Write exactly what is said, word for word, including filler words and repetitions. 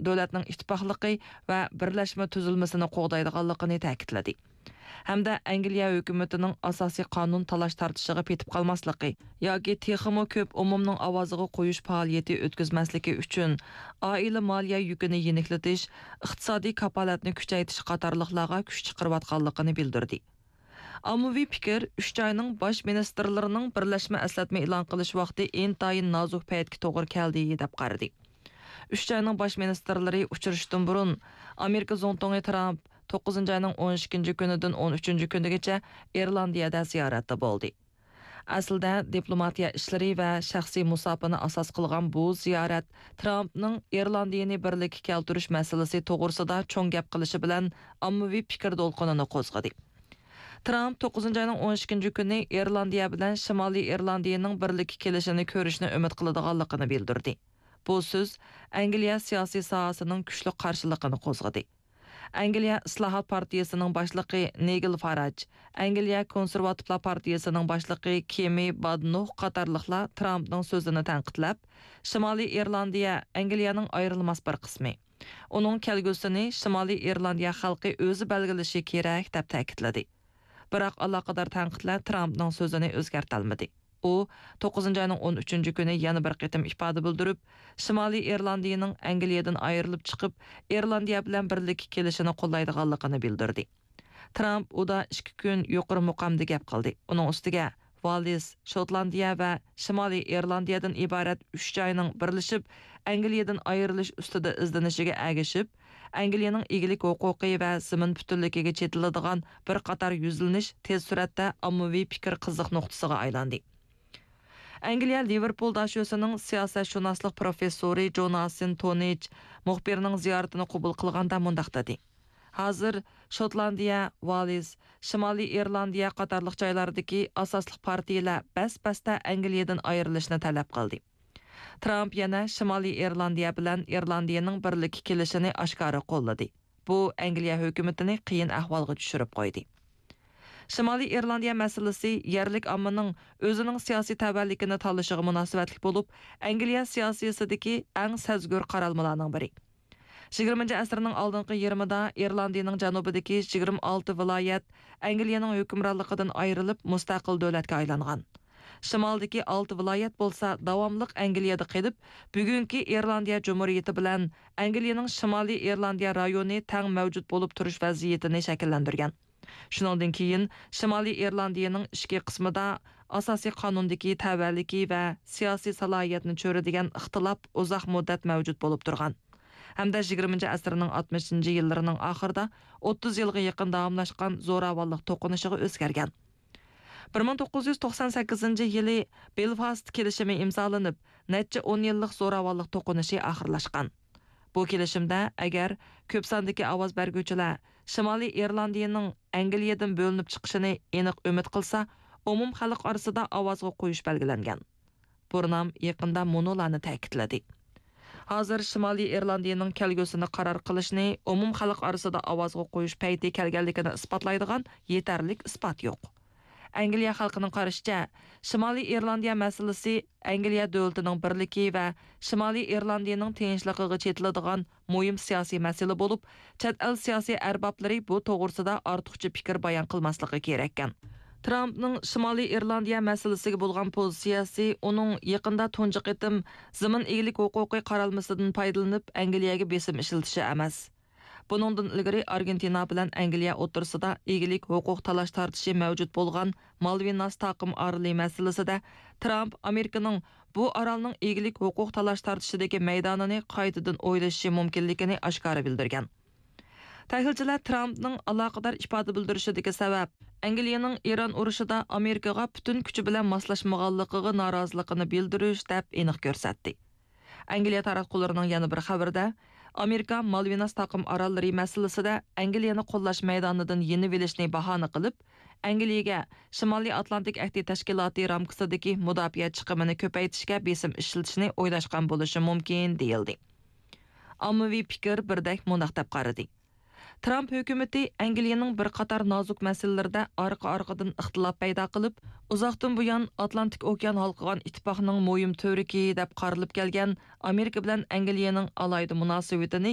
دۆلەتنىڭ ئىتتىپاقلىقى ۋە بىرلەشمە تۈزۈلمىسىنى قوغدايدىغانلىقىنى تەكىتلىدى. ھەمدە ئەنگلىيە ھۆكۈمىتىنىڭ ئاساسىي قانۇن تالاش-تارتىشىغا پېتىپ قالماسلىقى ياكى تېخىمۇ كۆپ ئومۇمنىڭ ئاۋازىغا قويۇش پائالىيىتى ئۆتكۈزمەسلىكى ئۈچۈن ئائىلە مالىيە يۈكىنى يېنىكلىتىش، ئىقتىسادىي كاپالەتنى كۈچەيتىش قاتارلىقلارغا كۈچ چىقىرىۋاتقانلىقىنى بىلدۈردى. ئاممىۋى پىكىر ئۈچ جاينىڭ باش مىنىستىرلىرىنىڭ بىرلەشمە ئەسلەتمە ئېلان قىلىش ۋاقتى ئىنتايىن نازۇك پەيتكە توغرا كەلدى، دەپ قارىدى. ئۈچ جاينىڭ باش مىنىستىرلىرى ئۇچرىشىشتىن بۇرۇن، ئامېرىكا زۇڭتۇڭى ترامپ توققۇزىنچى ئاينىڭ ئون ئىككىنچى كۈنىدىن ئون ئۈچىنچى كۈنىگىچە ئىرلاندىيەدە زىيارەتتە بولدى. ئەسلىدە دىپلوماتىيە ئىشلىرى ۋە شەخسىي مۇساپىنى ئاساس قىلغان بۇ زىيارەت ترامپنىڭ ئىرلاندىيىنى بىرلىككە كەلتۈرۈش مەسىلىسى توغرىسىدا چوڭ گەپ قىلىشى بىلەن ئاممىۋى پىكىر دولقۇنىنى قوزغىدى. ترامپ توققۇزىنچى ئاينىڭ ئون ئىككىنچى كۈنى ئىرلاندىيە بىلەن شىمالىي ئىرلاندىيىنىڭ بىرلىككە كېلىشىنى كۆرۈشنى ئۈمىد قىلىدىغانلىقىنى بىلدۈردى. بۇ سۆز ئەنگلىيە سىياسىي ساھەسىنىڭ كۈچلۈك قارشىلىقىنى قوزغىدى. ئەنگلىيە ئىسلاھات پارتىيىسىنىڭ باشلىقى نىگېل فاراج، ئەنگلىيە كونسېرۋاتىپلار پارتىيىسىنىڭ باشلىقى كېمى بادنوخ قاتارلىقلار ترامپنىڭ سۆزىنى تەنقىدلەپ، شىمالىي ئىرلاندىيە ئەنگلىيەنىڭ ئايرىلماس بىر قىسمى. ئۇنىڭ كەلگۈسىنى شىمالىي ئىرلاندىيە خەلقى ئۆزى بەلگىلىشى كېرەك، دەپ تەكىتلىدى. بىراق ئالاقىدار تەنقىدلەر ترامپنىڭ سۆزىنى ئۆزگەرتەلمىدى. ئۇ توققۇزىنچى ئاينىڭ ئون ئۈچىنچى كۈنى يەنە بىر قېتىم ئىپادە بىلدۈرۈپ، شىمالىي ئىرلاندىيىنىڭ ئەنگلىيەدىن ئايرىلىپ چىقىپ، ئىرلاندىيە بىلەن بىرلىككە كېلىشىنى قوللايدىغانلىقىنى بىلدۈردى. ترامپ ئۇدا ئىككى كۈن يۇقىرى مۇقامدا گەپ قىلدى. ئۇنىڭ ئۈستىگە، ۋالىس، شوتلاندىيە ۋە شىمالىي ئىرلاندىيەدىن ئىبارەت ئۈچ جاينىڭ بىرلىشىپ، ئەنگلىيەدىن ئايرىلىش ئۈستىدە ئىزدىنىشىگە ئەگىشىپ، ئەنگلىيەنىڭ ئىگىلىك ھوقۇقى ۋە زېمىن پۈتۈنلۈكىگە چېتىلىدىغان بىر قاتار يۈزلىنىش تېز سۈرئەتتە ئاممىۋى پىكىر قىزىق نۇقتىسىغا ئايلاندى. ئەنگلىيە لىۋېرپۇل داشۆسىنىڭ سىياسەتشۇناسلىق پروفېسسورى جوناسىن تونىچ مۇخبىرنىڭ زىيارىتىنى قوبۇل قىلغاندا مۇنداق دېدى: ھازىر شوتلاندىيە، ۋالىس، شىمالىي ئىرلاندىيە قاتارلىق جايلاردىكى ئاساسلىق پارتىيىلەر بەس-بەستە ئەنگلىيەدىن ئايرىلىشنى تەلەپ قىلدى. ترامپ يەنە شىمالىي ئىرلاندىيە بىلەن ئىرلاندىيەنىڭ بىرلىككە كېلىشىنى ئاشكارا قوللىدى. بۇ ئەنگلىيە ھۆكۈمىتىنى قىيىن ئەھۋالغا چۈشۈرۈپ قويدى. شىمالىي ئىرلاندىيە مەسىلىسى يەرلىك ئاممىنىڭ ئۆزىنىڭ سىياسىي تەۋەلىكىنى تاللىشىغا مۇناسىۋەتلىك بولۇپ، ئەنگلىيە سىياسىيىسىدىكى ئەڭ سەزگۈر قارالمىلارنىڭ بىرى. يىگىرمىنچى ئەسىرنىڭ ئالدىنقى يېرىمىدا ئىرلاندىيىنىڭ جەنۇبىدىكى يىگىرمە ئالتە ۋىلايەت ئەنگلىيەنىڭ ھۆكۈمرانلىقىدىن ئايرىلىپ، مۇستەقىل دۆلەتكە ئايلانغان. شىمالدىكى ئالتە ۋىلايەت بولسا داۋاملىق ئەنگلىيەدە قېلىپ، بۈگۈنكى ئىرلاندىيە جۇمھۇرىيىتى بىلەن ئەنگلىيەنىڭ شىمالىي ئىرلاندىيە رايونى تەڭ مەۋجۇت بولۇپ تۇرۇش ۋەزىيىتىنى شەكىللەندۈرگەن. شۇنىڭدىن كېيىن شىمالىي ئىرلاندىيەنىڭ ئىچكى قىسمىدا ئاساسىي قانۇندىكى تەۋەلىكى ۋە سىياسىي سالاھىيەتنى چۆرىدىگەن ئىختىلاپ ئۇزاق مۇددەت مەۋجۇت بولۇپ تۇرغان ھەمدە يىگىرمىنچى ئەسىرنىڭ ئاتمىشىنچى يىللىرىنىڭ ئاخىرىدا ئوتتۇز يىلغا يېقىن داۋاملاشقان زوراۋانلىق توقۇنۇشىغا ئۆزگەرگەن. بىر مىڭ توققۇز يۈز توقسان سەككىزىنچى يىلى بېلفاست كېلىشىمى ئىمزالىنىپ، نەچچە ئون يىللىق زوراۋانلىق توقۇنۇشى ئاخىرلاشقان. بۇ كېلىشىمدە ئەگەر كۆپ ساندىكى ئاۋاز بەرگۈچىلەر شىمالىي ئىرلاندىيىنىڭ ئەنگلىيەدىن بۆلۈنۈپ چىقىشىنى ئېنىق ئۈمىد قىلسا، ئومۇم خەلق ئارىسىدا ئاۋازغا قويۇش بەلگىلەنگەن. بۇرنام يېقىندا مۇنۇلارنى تەكىتلىدى: ھازىر شىمالىي ئىرلاندىيىنىڭ كەلگۈسىنى قارار قىلىشنى ئومۇم خەلق ئارىسىدا ئاۋازغا قويۇش پەيتى كەلگەنلىكىنى ئىسپاتلايدىغان يېتەرلىك ئىسپات يوق. ئەنگلىيە خەلقىنىڭ قارىشىچە، شىمالىي ئىرلاندىيە مەسىلىسى ئەنگلىيە دۆلىتىنىڭ بىرلىكى ۋە شىمالىي ئىرلاندىيىنىڭ تىنچلىقىغا چېتىلىدىغان مۇھىم سىياسىي مەسىلە بولۇپ، چەت ئەل سىياسىي ئەربابلىرى بۇ توغرىسىدا ئارتۇقچە پىكىر بايان قىلماسلىقى كېرەككەن. ترامپنىڭ شىمالىي ئىرلاندىيە مەسىلىسىگە بولغان پوزىتسىيەسى ئۇنىڭ يېقىندا تۇنجى قېتىم زېمىن ئىگىلىك ھوقۇقى قارالمىسىدىن پايدىلىنىپ، ئەنگلىيەگە بېسىم ئىشلىتىشى ئەمەس. بۇنىڭدىن ئىلگىرى ئارگېنتىنا بىلەن ئەنگلىيە ئوتتۇرىسىدا ئىگىلىك ھوقۇق تالاش-تارتىشى مەۋجۇت بولغان مالۋىناس تاقىم ئارىلى مەسىلىسىدە ترامپ ئامېرىكىنىڭ بۇ ئارالنىڭ ئىگىلىك ھوقۇق تالاش-تارتىشىدىكى مەيدانىنى قايتىدىن ئويلىشىشى مۇمكىنلىكىنى ئاشكارا بىلدۈرگەن. تەھلىلچىلەر ترامپنىڭ ئالاقىدار ئىپادە بىلدۈرۈشىدىكى سەۋەب ئەنگلىيەنىڭ ئىران ئۇرۇشىدا ئامېرىكىغا پۈتۈن كۈچى بىلەن ماسلاشمىغانلىقىغا نارازىلىقىنى بىلدۈرۈش، دەپ ئېنىق كۆرسەتتى. ئەنگلىيە تاراتقۇلىرىنىڭ يەنە بىر خەۋىرىدە، ئامېرىكا مالۋىناس تاقىم ئاراللىرى مەسىلىسىدە ئەنگلىيەنى قوللاش مەيدانىدىن يېنىۋېلىشنى باھانە قىلىپ، ئەنگلىيەگە شىمالىي ئاتلانتىك ئەھدى تەشكىلاتى رامكىسىدىكى مۇداپىئە چىقىمىنى كۆپەيتىشكە بېسىم ئىشلىتىشنى ئويلاشقان بولۇشى مۇمكىن، دېيىلدى. ئاممىۋى پىكىر بىردەك مۇنداق دەپ قارىدى: ترامپ ھۆكۈمىتى ئەنگلىيەنىڭ بىر قاتار نازۇك مەسىلىلىرىدە ئارقا-ئارقىدىن ئىختىلاپ پەيدا قىلىپ، ئۇزاقتىن بۇيان ئاتلانتىك ئوكيان ھالقىغان ئىتتىپاقنىڭ مۇھىم تۈۋرۈكى دەپ قارىلىپ كەلگەن ئامېرىكا بىلەن ئەنگلىيەنىڭ ئالاھىدە مۇناسىۋىتىنى